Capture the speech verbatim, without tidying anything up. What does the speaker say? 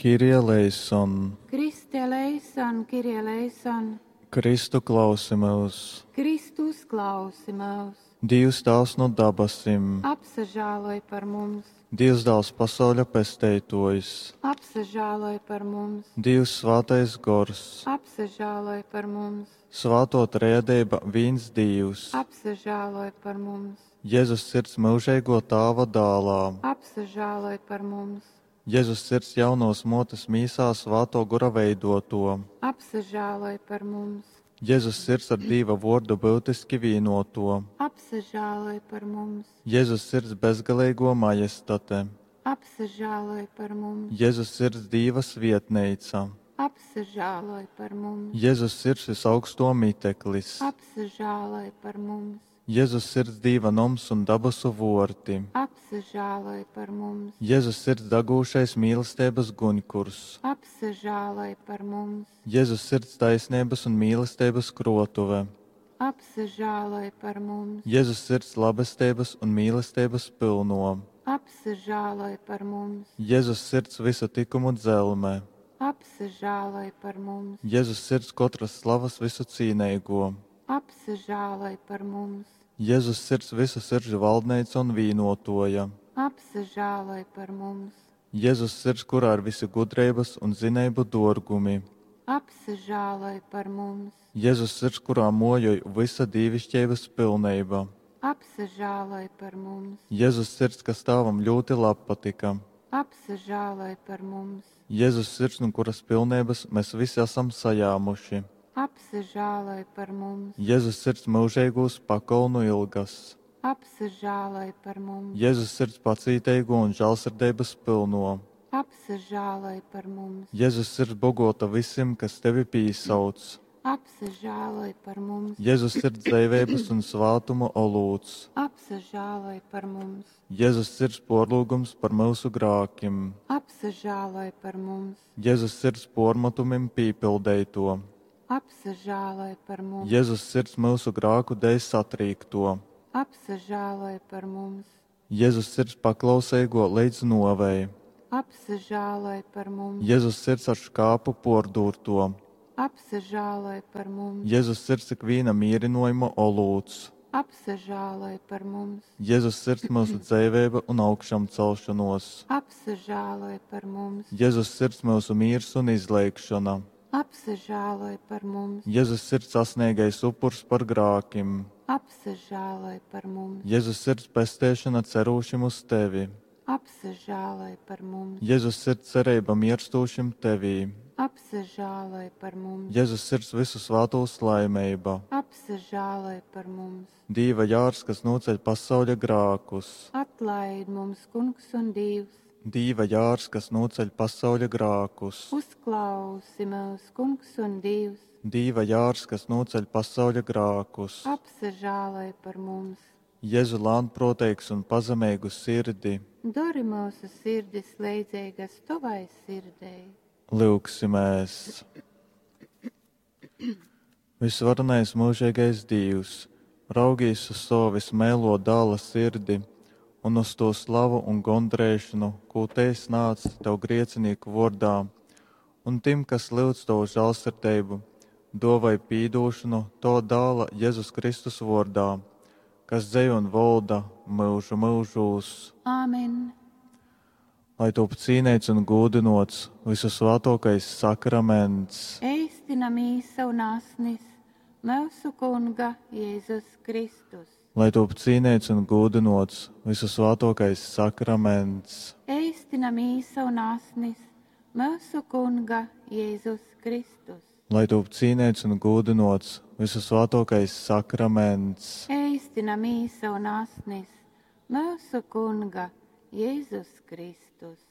Kyrie eleison. Christe eleison, Kyrie eleison. Kristu klausi myus! Kristu uzklausi myus! Dīvs Tāvs nu dabasim. Apsažāloj par mums! Dīvs Dāls pasauļa Pesteitōjs. Apsažāloj par mums! Dīvs Svātais Gors. Apsažāloj par mums! Svātō Trejadeiba vīns Dīvs. Apsažāloj par mums! Jezus Sirds myužeigō Tāva Dālā. Apsažāloj par mums! Jezus Sirds jaunovas mōtes mīsā Svātō Gora veidōtō. Apsažāloj par mums! Jezus Sirds ar Dīva Vōrdu byutiski vīnōtō. Apsažāloj par mums! Jezus Sirds bezgaleigō Majestate. Apsažāloj par mums! Jezus Sirds Dīva svietneica. Apsažāloj par mums! Jezus Sirds vysaugstō miteklis. Apsažāloj par mums! Jezus Sirds Dīva noms un dabasu vōrti. Apsažāloj par mums! Jezus Sirds dagūšais mīlesteibas guņkurs. Apsažāloj par mums! Jezus Sirds taisneibas un mīlesteibas krōtuve. Apsažāloj par mums! Jezus Sirds labesteibas un mīlesteibas pylnō. Apsažāloj par mums! Jezus Sirds vysu tykumu dzelme. Apsažāloj par mums! Jezus Sirds kotras slavas vysucīneigō. Apsažāloj par mums! Jezus Sirds vysu siržu valdneica un vīnōtōja. Apsažāloj par mums! Jezus Sirds, kurā ir visi gudreibas un zineibu dōrgumi. Apsažāloj par mums! Jezus Sirds, kurā mōjoj vysa dīviškeibas pilneiba. Apsažāloj par mums! Jezus Sirds, kas Tāvam ļūti labpatyka. Apsažāloj par mums! Jezus Sirds, nu kuras pilneibas mēs visi asam sajāmuši. Apsažāloj par mums! Jezus Sirds myužeigūs pakolnu ilgas. Apsažāloj par mums! Jezus Sirds pacīteigo un žālsirdeibas pylno. Apsažāloj par mums! Jezus Sirds bogota visim, kas tevi pīsauc. Apsažāloj par mums! Jezus Sirds dzeiveibas un svātuma olūts. Apsažāloj par mums! Jezus Sirds porlūgums par myusu grākim. Apsažāloj par mums! Jezus Sirds pormatumim pīpildeito. Apsažāloj par mums! Jezus Sirds myusu grāku dēļ satrīkto. Apsažāloj par mums! Jezus Sirds paklauseigo leidz nuovei. Apsažāloj par mums! Jezus Sirds ar škāpu pordūrto. Apsažāloj par mums! Jezus Sirds ikvīna mīrinojuma olūts. Apsažāloj par mums! Jezus Sirds myusu dzeiveiba un augšamcelšanos. Apsažāloj par mums! Jezus Sirds myusu mīrs un izleigšana. Apsažāloj par mums! Jezus Sirds sasniegais upurs par grākim. Apsažāloj par mums! Jezus Sirds pesteišana cerūšim uz tevi. Apsažāloj par mums! Jezus Sirds cerība mirstūšim tevī. Apsažāloj par mums! Jezus Sirds visu svātūs laimeiba. Apsažāloj par mums! Dīva jārs, kas noceļ pasauļa grākus. Atlaid mums, Kungs un Dievs! Dīva jārs, kas noceļ pasauļa grākus. Uzklausi mūs, Kungs un Dievs! Dīva jārs, kas noceļ pasauļa grākus. Apsažāloj par mums! Jēzu lānproteigs un pazemīgu sirdi. Dori mūsu sirdis leidzīgas tavai sirdei. Lūgsimies! Visvarenais mūžīgais Dievs, raugīs uz savu vismēlo dāla sirdi un uz to slavu un gondrēšanu, ko te nāc tev griecinīku vordā, un tim, kas lūdz tavu žālsirdību, dovai pīdūšanu to dāla Jēzus Kristus vordā, kas dzejo un volda mūžu mūžūs. Āmen! Lai top cīnīts un gūdinots visu svētākais sakraments. Eistina mīsa un asnis mūsu Kunga Jēzus Kristus. Lai top cīnīts un gūdinots visu svētākais sakraments. Eistina mīsa un asnis mūsu Kunga Jēzus Kristus. Lai top cīnīts un gūdinots visu svētākais sakraments. Eistina mīsa un asnis mūsu Kunga Jēzus Kristus.